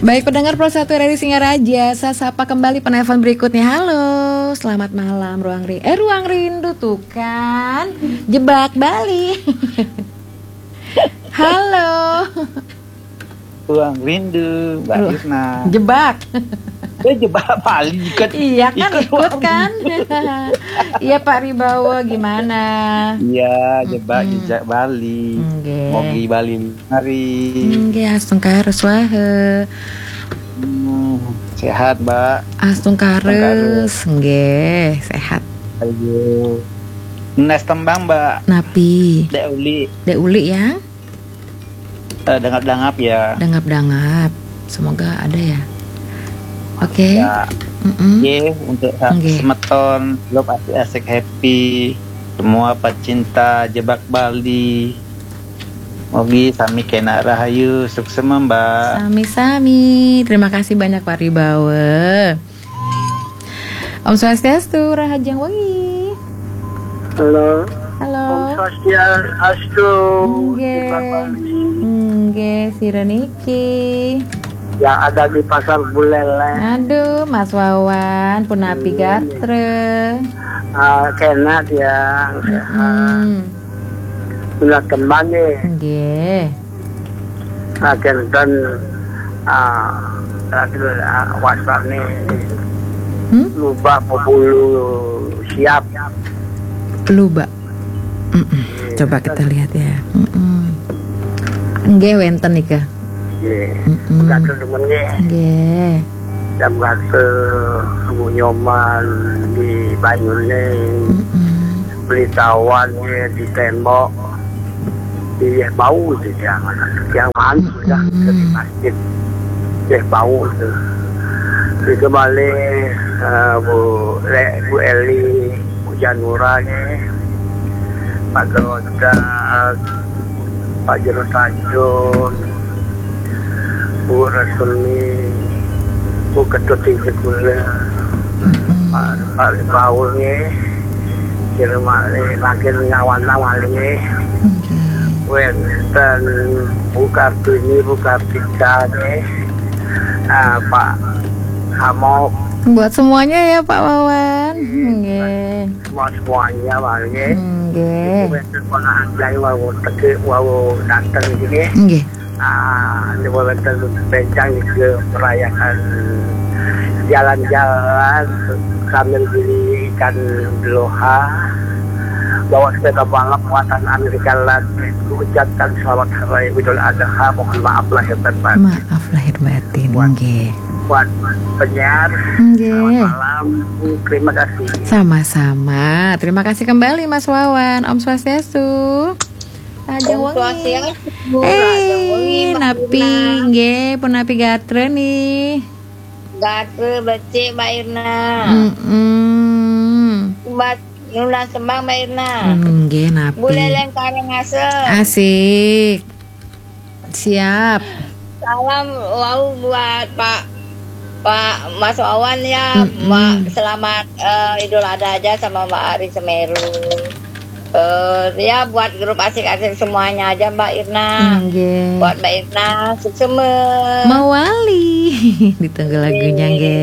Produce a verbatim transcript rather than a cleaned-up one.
Baik, pendengar Pro satu R R I Singaraja, saya sapa kembali penelpon berikutnya. Halo, selamat malam, Ruang Ri-, eh, Ruang Rindu tuh kan, Jebak Bali. Halo. Ruang Rindu, Mbak Ruang Irna. Jebak. Eh, Jebak Bali, ikut. Iya kan, ikut Ruang kan? Rindu. Iya, Pak Ribawa, gimana? Iya, Jebak Mm-mm. Jejak Bali. Nggih. Mogi Bali mari. Nggih, Astungkara swaha. Hmm, sehat, Mbak. Astungkara, Astungkara. Nggih, sehat. Ayo. Nes tembang, Mbak. Napi? Dek Uli. Dek Uli ya? Eh, dangap-dangap ya. Dangap-dangap. Semoga ada ya. Oke. Ya. Mm-mm. Oke, untuk sa- Nggih. Semeton, lo pasti asik happy. Semua pecinta Jebak Bali. Mogi sami kena rahayu, suksema, Mbak. Sami-sami. Terima kasih banyak, Pak Ribawa. Om Swastiastu, Rahajeng Wengi. Halo. Halo. Om Swastiastu. Nggih. Jebak Bali. Nggih, sira niki. Yang ada di Pasar Buleleng. Aduh, Mas Wawan, punapi Iya. gatra. Ah, kena dia. Sehat. Mm-mm. Sudah tembang nih. Nggih. Akhir dan ah, akhir ah, WhatsApp nih. Hmm? Lupa pebulu siap. Luba. Mm-mm. Coba kita lihat ya. Mm-mm. Nggih, wenten nika. Nggih. Mm-mm. Gatra demen nggih. Nggih. Jam gatra Bu Nyoman di Banyuning. Mm-mm. Beli tawan nggih di tembok. Di bau itu yang yang anu sudah Mm-mm. di masjid. Di bau itu. Itu balik eh, Bu Le, Bu Eli, Bu Janura nggih. Pak Geroda, Pak Jero Tanjung, Bu Rasuli, Bu Ketut Tinggi Gula, Pak, Pak Paul nggih. Kira malik makin ngawan malik nggih. Nggih. Wenten Bu Kartini, Bu Kartika nggih. Ah, Pak Hamok, Buat semuanya ya, Pak Wawan. Nggih. semua semuanya malik nggih. Nggih. Wenten ponakan saya wau teke wau datang sini. Nggih. Ah, ini wenten bencang juga merayakan jalan-jalan sambil beli ikan beloha, bawa sepeda balap buatan Amerika Latin, ucapkan selamat hari Idul Adha, mohon maaf lahir dan batin. Maaf lahir batin, Buat- nggih. Buat penyiar, Nggih. selamat malam, terima kasih. Sama-sama. Terima kasih kembali, Mas Wawan. Om Swastiastu. Rahajeng Om Wengi. Swastiastu, Rahajeng Wengi, Eh, Mbak napi Irna. Nggih, punapi gatra nih. Gatra becik, Mbak Irna. Mm-mm. Buat nunas tembang, Mbak Irna. Nggih, napi. Buleleng Karangasem. Asik. Siap. Salam wau buat Pak Pak Mas Wawan ya, Mm-mm. Mbak, selamat eh, Idul Adha aja sama Mbak Ari Semeru. Eh, ya buat grup asik-asik semuanya aja, Mbak Irna. Nggih. Buat Mbak Irna, suksema. Mawali. Ditunggu lagunya, nggih.